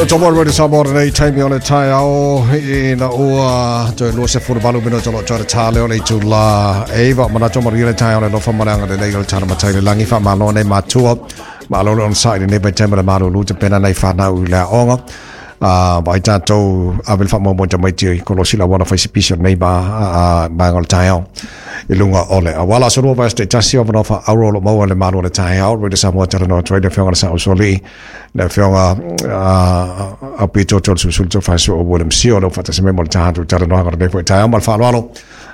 Tomo Radio Samoa lenei taimi o le taeao ina ua toe 28 minute o lo o toe tā leo le itulā 9. Manatu manuia le taeao le alofa ma le agalelei o le tala matai le lagi. Faamalo nei matua, malo le onosai lenei vaitaimi o le malulu tapena nai fanau i le aoga. Vaai tatou ave le faamoemoe tamaiti kolosi la auala fai sipisi o lenei vaega o le taeao i luga o le auala. Aso Lua vaiaso taitasi o avanoa faauro o lo o maua i le malu o le taeao. Radio Samoa talanoa atu ai le Afioga i le Saosualii, le Afioga Aupito Tolesulusulu Tofaesu o William Sio o lo o faatasi mai mo le tatou talanoaga o lenei foi taeao. Ma le faaaloalo,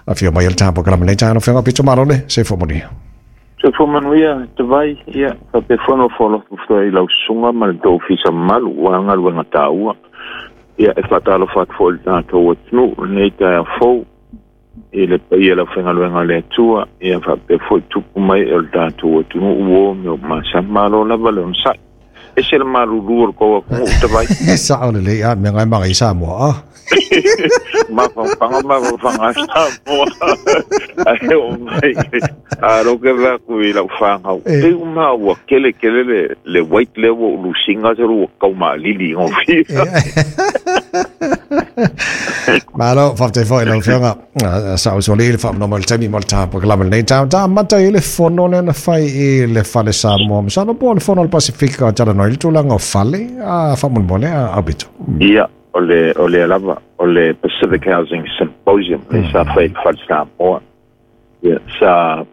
afio mai e le tatou polokalame lenei taeao, Afioga Aupito, malo le soifua manuia. Soifua manuia Tavai, ia faapea foi ona foalofa foi i lau susuga ma le tou ofisa mamalu aua galuega taua. Ia e faatalofa atu foi i le tatou atunuu i lenei taeao fou i le paia o le aufaigaluega a le Atua, ia faapea foi tupu mai o le tatou atunuu ua o me o masani. Malo lava le onosai. Ese le malulu o le tou atunuu Tavai. Sao lelei a mea ngai maga i Samoa. Ah. Mafaufauga mafaufauga a Samoa. Ae oo mai a lo ke vea ku i lau whāngau. Te uma ua kele kele le weight lea ua ulusinga se ua kau maalili ngō Malo, faafetai foi lau Afioga Saosualii le faamanoa mai le taimi mo le polokalame lenei taeao. Ta amata i le fono lea na fai i le Fale Samoa. Masalo po o le fono o le Pasifika o talanoa i le tulaga o fale, a faamolemole a Aupito. Ia, o le, o lea lava, o le Pacific Housing Symposium le sa fai i le Fale Samoa. Ia, sa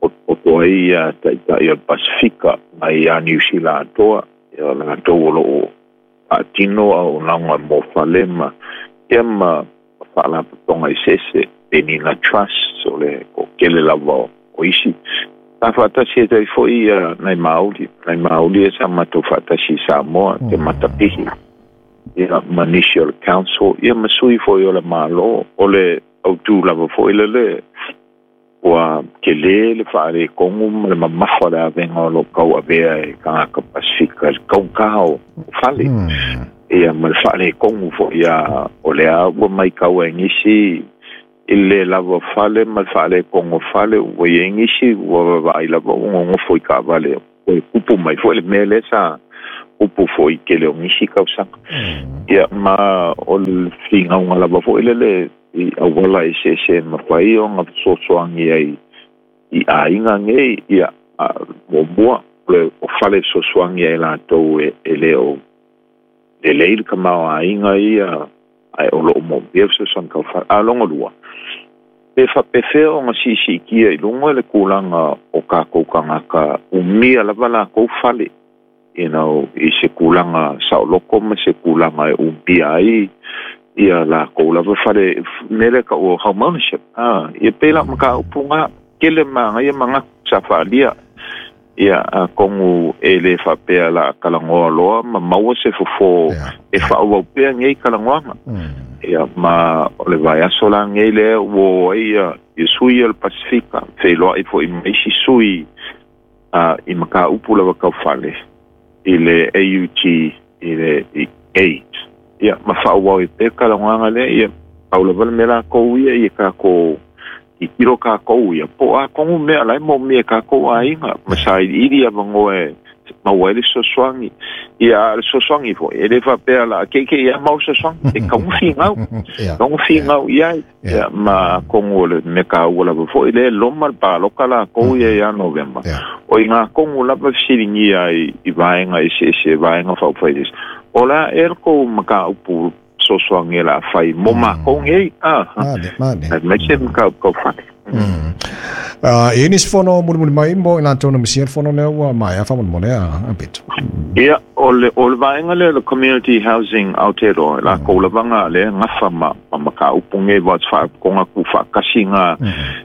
potopoto ai ia taitai o le Pasifika mai ia Niu Sila atoa, ia o latou o lo o faatino auaunaga mo fale ma ia ma faalapotopotoga eseese, Penina Trust, o le toatele lava o isi. Sa faatasi ai foi ia nai Māori, nai Māori ia sa matou faatasi i Samoa, te Matapihi, ia ma nisi o le Council, ia ma sui foi o le Malo, o le autū lava foi lele, ua tele le faaletonu ma le mamafa o le avega o lo o tauavea e tagata Pasifika i le taugata o fale. Ia ma le faaletonu foi ia o lea ua matau ai nisi i le le lava o fale ma le faaletonu o fale, ua i ai nisi ua vaavaai lava ua nonofo i taavale, ua tupu mai foi le mea lea sa tupu foi i tele o nisi tausaga. Ia ma o le finauga lava foi lele i auala eseese e mafai ona fesoasoani ai i aiga nei, ia, muamua, o fale fesoasoani ai latou e le o lelei le tamaoaiga ia, ae o lo o moomia fesoasoani tau fale. A lona lua, pe faapefea ona siisiitia i luga le tulaga o tatou tagata umia lava latou fale, you know, i se tulaga saoloto ma se tulaga e umia ai ia latou lava fale, mea lea tau o home ownership. Ah, ia pei la mataupu ngā, tele manaia manatu sa faaalia. Ia, atonu e le faapea la talanoa loa ma maua se fofo e faaauau pea nei talanoaga. Ia, ma o le vaiaso la nei lea ua o ai ia sui o le Pasifika, feiloai foi ma isi sui i mataupu lava tau fale i le AUT i le i AIDS. Ia, ma faaauau ai pea talanoaga lea, ia, pau lava le mea lakou ia, ia tatou tilotilo takou ia, po o a tonu mea la e moomia e takou aiga, ma sailiili avanoa e maua ai le fesoasoani. Ia, a o le fesoasoani foi, e le faapea la keikei lava maua le fesoasoani, e tatau ona finau, tatau ona finau i ai. Ia, ma atonu o le mea taua lava foi lea e loma le palota lakou ia ia Novema, o i ngā tonu lava e fesiligia ai i vaega eseese, vaega faaupufai eseese, o le a ea le tou mataupu fesoasoani o le a fai mo matou nei, a, aemaise mataupu tau fale. E i ai nisi fono mulimuli mai mo i latou na misia le fono lea ua maea faamolemole a Pito? Ia, o le, o le vaega lea o le Community Housing Aotearoa, lakou lava ngā lea gafa ma, ma mataupu nei wa faalapotopotoga tuufaatasi ngā,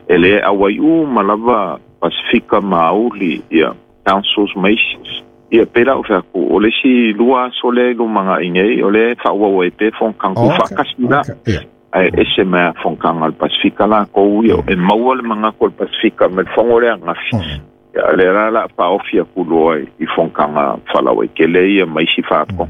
e le auai uma lava Pasifika ma Auli, ia, councils ma isi. Ia, pei la ou fai atu, o le isi 2 aso lea i lumanai nei, o lea e faaauau ai pea fonotaga tuufaatasi la. Ae ese mai lava fonotaga a le Pasifika lakou ia, e maua le manatu o le Pasifika mai le fono lea ananafi. Ia, lea la o le a faaofi atu loa i fonotaga faalauaitele ia ma isi faatoga.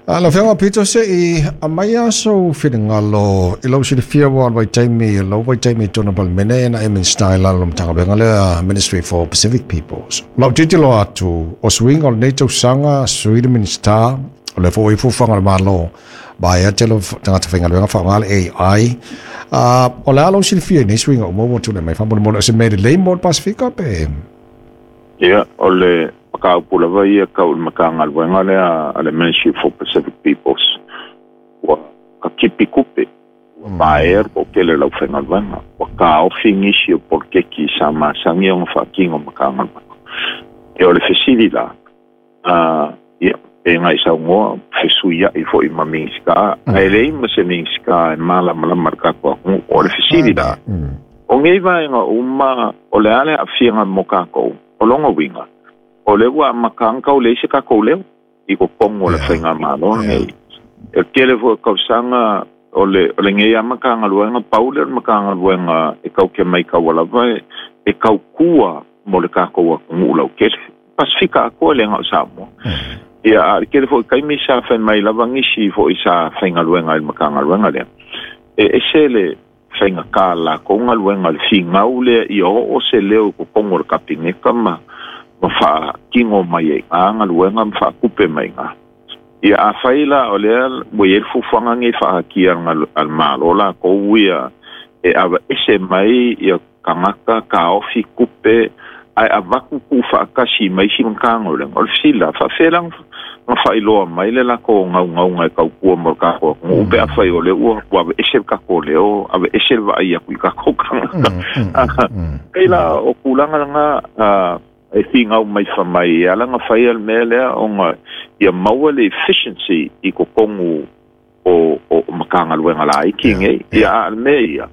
Lau Afioga Pito, se i aumai lava sou finagalo i lou silafia ua alu ai taimi, lou vaitaimi i totonu o le Palemene na e Minisita i lalo o le Matagaluega lea, Ministry for Pacific Peoples. O lau tilotilo atu, o suiga o lenei tausaga, sui le Minisita, O le foʻi fuafuaga a le Malo vaea tele o tagata faigaluega faaaoga le AI. O le a lou silafia i nei suiga uma ua tulai mai faamolemole, o se mea lelei mo le Pasefika pe? Ia, o le mataupu lava ia tau i le Matagaluega lea a le Ministry for Pacific Peoples, ua katipi tupe, ua vaea le toatele o le aufaigaluega, ua taofi nisi o poloketi sa masani ona faatino Matagaluega. Ia, o le fesili la, ia, pe na i saunoa, fesuiai foi ma Minisita, ae leai ma se Minisita e malamalama i le tatou atunuu. O le fesili la, o nei vaega uma, o le a le aafiaga mo tatou? O lona uiga, o lea ua amata ona tau leai se tatou leo i totonu o le faigamalo lenei. E tele foi o tausaga o le lenei lava Matagaluega, pau lea o le Matagaluega e tau te maitaua lava e tautua mo le tatou atunuu lautele. Pasefika atoa e le na o Samoa. Ia, a o le tele foi o taimi sa fai mai lava nisi foi sa faigaluega i le Matagaluega lea, e ese le faigata o le latou galuega i le finau lea ia oo se leo i totonu o le Kapeneta ma faatino mai ai i ina galuega ma faatupe mai i ina. Ia, afai la o lea ua i ai le fuafuaga nei faaatia a le Malo latou ia e aveese mai ia tagata taofi tupe ae avatu tuufaatasi mai isi Matagaluega, o le fesili la, faafefea la ona faailoa mai le latou naunauga e tautua mo le tatou atunuu pe afai o lea ua aveese le tatou leo, aveese le vaai atu i tatou tagata? Pei la o tulaga lena e finau mai fai mai e ala ona faia le mea lea ona ia maua le efficiency i totonu o Matagaluega laiti nei. Ia, a o le mea ia,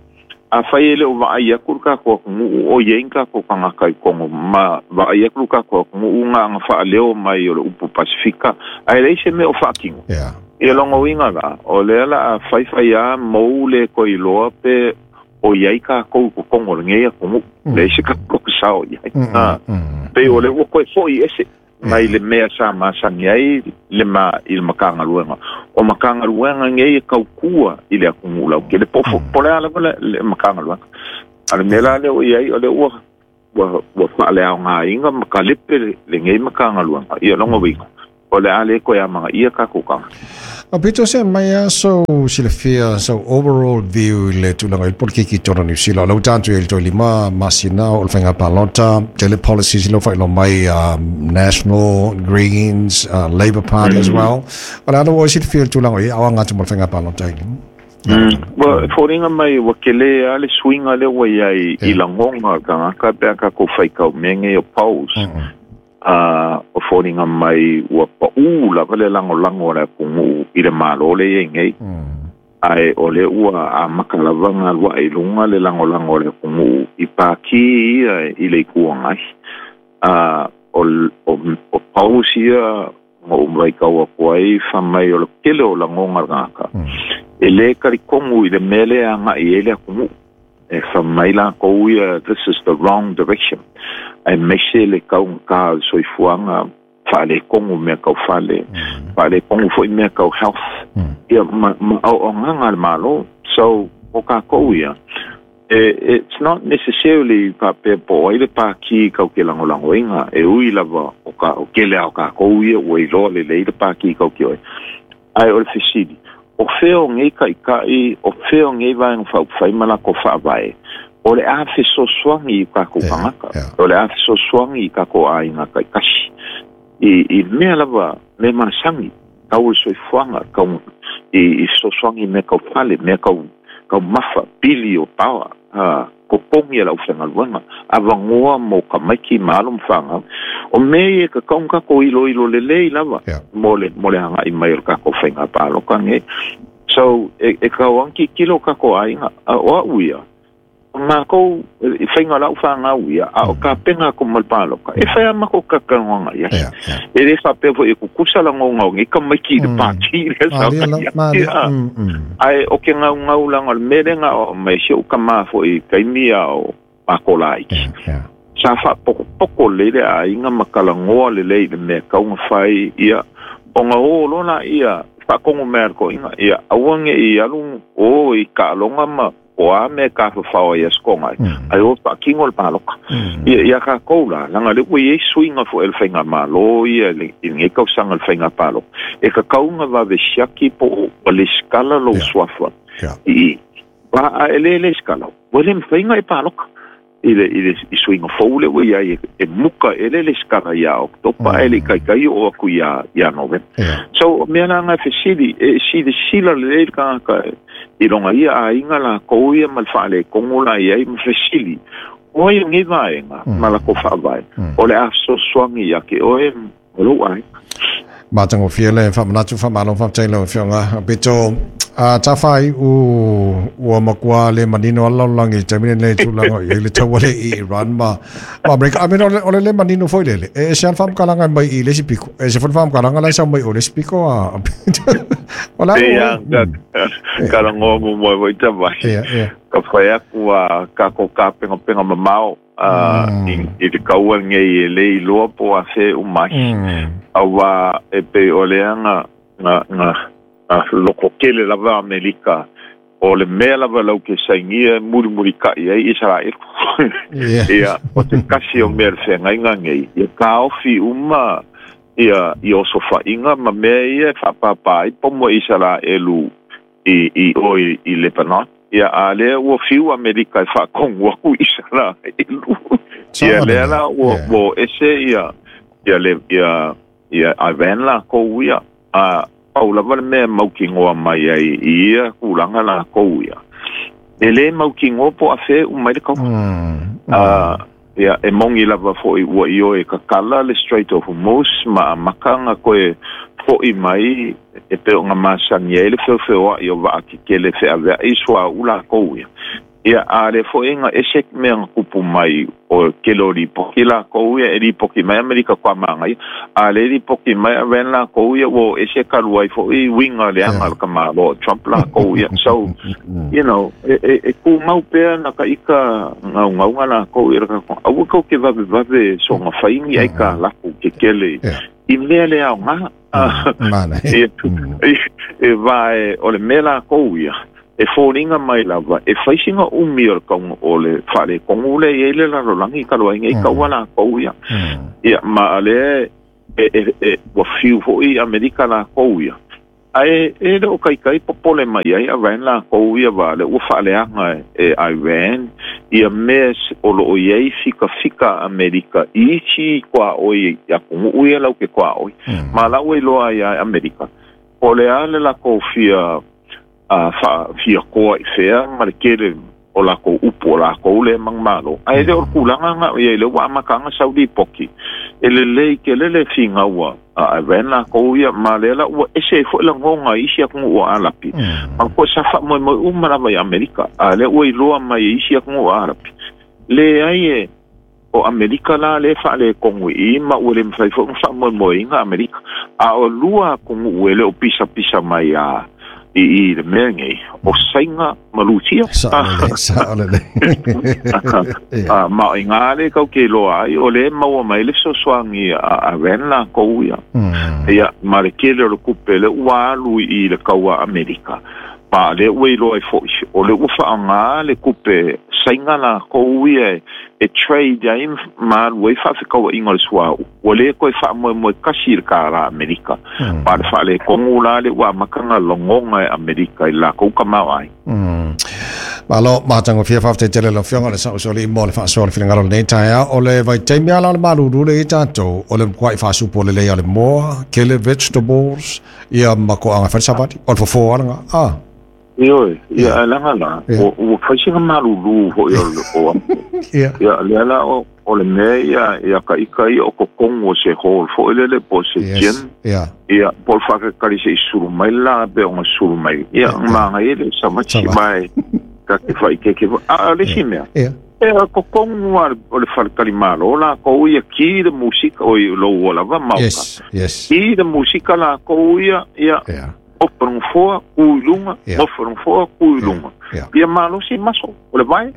afai e le o vaai atu le tatou atunuu o i ai ni tatou tagata i totonu ma vaai atu le tatou atunuu na ona faaleo mai o le upu Pasefika ae leai se mea o faatino. Ia lona uiga la, o lea la a faifai lava mou le toe iloa pe o i ai tatou i totonu o lenei atunuu. Leai se tatou sao i ai. Pei o lea ua toe foi ese mai le mea sa masani ai le ma i le Matagaluega. O Matagaluega nei e tautua i le atunuu lautele, po o le a lava le Matagaluega. A o le mea la lea ua i ai, o lea ua faaleaogaina ma talepe lenei Matagaluega. Ia lona uiga, o le a le toe amanaia tatou tagata. A pito se mai a so silafia so overall view i le tulaga i le polokiki i totonu o Niu Sila. O lea ua tatou i ai i le toe 5 masina o le faiga palota, tele policies lea ua faailoa mai, National, Greens, Labour Party as well. O le a lou oe silafia i le tulaga o i ai, a o aga atu mo le faiga palota i Ua foliga mai ua tele lava le suiga lea ua i ai i lagona o le tagata pe a tatou faitau mea nei o polls. A o foliga mai ua paʻū lava le lagolago a le atunuu i le Malo lea e i ai nei. Ae o lea ua amata lava ona alu ae i luga le lagolago a le atunuu i pātī ia i le Itu Agai. A o polls ia na ou vaitau atu ai fai mai o le tele o lagona a le tagata e le talitonu i le mea lea e agai i ai le atunuu. E fai mai latou ia, this is the wrong direction, aemaise le taugata o le soifuaga, faaletonu mea tau fale, faaletonu foi mea tau health, ia ma auaunaga a le Malo. So, o tatou ia, it's not necessarily faapea po o ai le pātī kau te lagolagoina, e ui lava o o tele lava o tatou ia ua iloa lelei le pātī kau te oe. Ae o le fesili, o fea o nei taitai, o fea o nei Vaega Faaupufai ma latou faavae, o le a fesoasoani i tatou tagata, o le a fesoasoani i tatou aiga taitasi, i mea lava, mea masani, tau o le soifuaga, tau i fesoasoani i mea tau fale, mea tau mafa, pili o power, totogi a le aufaigaluega, avanoa mo tamaiti ma alo ma fanau. O mea ia e tatau ona tatou iloilo lelei lava mo le mo le agai mai o le tatou faiga palota nei. So, e tatau lava ona tilotilo o tatou aiga. O au ia, o matou, i faiga o lau fanau ia, a o tapena atu ma le palota, e fai lava matou talatalanoaga i ai. E le faapea foi e tutusa lagona o nei tamaiti i le pati lea sa fai ai. Ae o ke gaugau leaga o le mea lea na aumai si ou tama foi i taimi a o matou laiti. Sa faapokopoko lelei le aiga ma talanoa lelei i le mea e tatau ona fai, ia, ona o loa laia faatonu mai a le toeaina, ia aua ne i alu o i taaloga ma. po a me ka fafao ai askonga ai o faatino le paloka. Ia ia kākou la laga le ua iai suiga foʻi le faigamālō ia i lenei tausaga le faiga paloka e tatauga vave siaki po o ua lesikala lou suafa i a e lē lesikala ua lē mafaiga e paloka i le i le i suiga fou le ua iai e muka e le lesikala iā Octopa ae leʻi taitai oo atu iā Novema. So mea laga e fesili e silasila lelei le tagata i loga ia aiga lakou ia ma le faaletonu la iai ma fesili o ai o nei vaega ma lakou faavae o le a fesoasoani ia te oe ma lou aiga. Matagofie le faamanatu faamalo faafetai lau Afioga Pito. A tafai u ua matua le manino ala lalolagi i taimi lenei tulaga i ai le taua le i Iran ma ma Amerika. I mean, o le le manino foi lele. E ese lava le faamatalaga mai i le isi piko. E ese foi le faamatalaga la e sau mai o le isi piko a o la Ia, ka lagoa muamua foi tavai. Ka fai aku a kākou kāpegapega mamao i le kaua lenei e lē iloa po o afea e uma ai. Auā e pei o lea na na na loko tele lava Amerika o le mea lava lau ke sainia e mulimulitaʻi ai Isaraelu. Ia o se tasi o mea le feagaiga nei ia taofi uma ia i osofaʻiga ma mea ia e faapāpā ai pomo Isaraelu i i o i Lebanon. Ia a lea ua fiu Amerika e faatonu aku i Isaraelu. Ia lea la ua ua ese ia ia le ia ia Iran lākou ia a pau lava le mea e mautinoa mai ai i ia tulaga lākou ia e lē mautinoa po o afea e uma ai le kaua. Ia e moni lava foʻi ua ioe tatala le Strait of Hormuz ma amata ona toe foʻi mai e pei ona masani ai le feofeoaʻi o vaa kekele feaveaʻi suauu lākou ia. Ia, a lea foʻi na ese mea na tupu mai o tele o lipoti lākou ia e lipoti mai Amerika toa magaia, a lea lipoti mai Iran lākou ia ua o ese talu ai foʻi uiga leaga o le tamāloa o Trump lākou ia. So, you know, e tumau pea na ka ika gaugauga lākou ia aua kou ke vavevave soga fai ni ai ka laku kekele i mea le aoga. E vae o le mea lākou ia e foliga mai lava e fai sina umi o le kauga o le faaletonu lea e i ai le lalolagi talu ai nei kaua lākou ia. Ia ma lea e ua fiu foʻi Amerika lākou ia ae e le o kaikai popole mai ai Iran lākou ia wā le ua faaleaga e Iran ia mea o loo iai fikafika Amerika i isi tuaoi atunuu ia lau ke tuaoi. Ma lau e iloa ai ia Amerika po o le a le lakou fia fia koa i fea ma le tele o lakou upu o lakou lea manumalo ae le o le tulaga na ia i le ua amataga sau lipoti e lelei tele le finau a Iran lakou ia ma lea la ua ese ai foʻi lagoga i isi atunuu o Alapi ma koe sa faamoemoe uma lava i Amerika a lea ua iloa mai e isi atunuu o Alapi leai e o Amerika la lea e faaletonu i i ma ua le mafai foi ona faamoemoeina Amerika. A o lua atunuu e le o pisapisa mai a i i le mea nei, o Saina ma Rusia. Sao lelei. Ma o iga lea kau ke iloa ai, o lea e maua mai le fesoasoani a Iran lakou ia. Ia, ma le tele o le tupe lea ua alu i le kaua a Amerika. Ma lea ua iloa ai foʻi, o lea ua faaaoga le tupe Saina lakou ia e trade ai ma alu ai faafetauaiga o le suauu. Ua lē toe faamoemoe tasi i le kālā Amerika. Ma le faaletonu la lea ua amata ona lagona e Amerika i le lakou tamaoaiga. Malo, matagofie faafetai tele lau Afioga le Saʻusoalii mo le faasoa o le finagalo o lenei taeao. O le vaitaimi lava la o le malūlū lea i ai tatou, o le matuai faasupo lelei o le moa, tele vegetables, ia ma toaga e fai le savali. O le fofo lava lena. Ah. Ioe, ia ae laga la, ua fai sina malūlū foʻi o le o Ia. Ia, lea la o le mea ia ia ka ika ia o totonu o se hall foʻi lele po o se gym. Ia. Ia, po o le faatalitali se i sulu mai le la pe ona sulu mai. Ia, manaia le savachi mai ka te faaikeike foi. A o le isi mea, e o totonu lava o le faletalimalo lakou ia ki le musika, oi lou ua lava maota. Yes, yes. Ki le musika lakou ia, ia. Ia. Ofo le gafoa, tu i luga, nofo le gafoa, tu i luga. Ia malosi maso o le vae.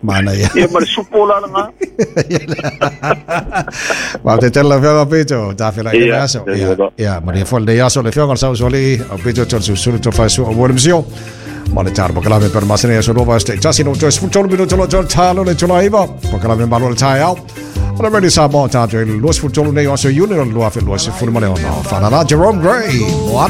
Manaia. Ia ma le supo la lena. Faafetai tele lau Afioga Pito, tafela i le aso. Ia, manuia foi lenei aso le Afioga o le Sausualii, au Pito Tolesulusulu Tofaesua ua le misio. Ma le talo pakalame per masina aso lua vae tasi no toe 13 minuto lo toe talo le tula iva. Pakalame malo le taeao. O le Radio Samoa tātou i le 23 nei o aso Iuni o le 2026. Whanala Jerome Gray. Moana.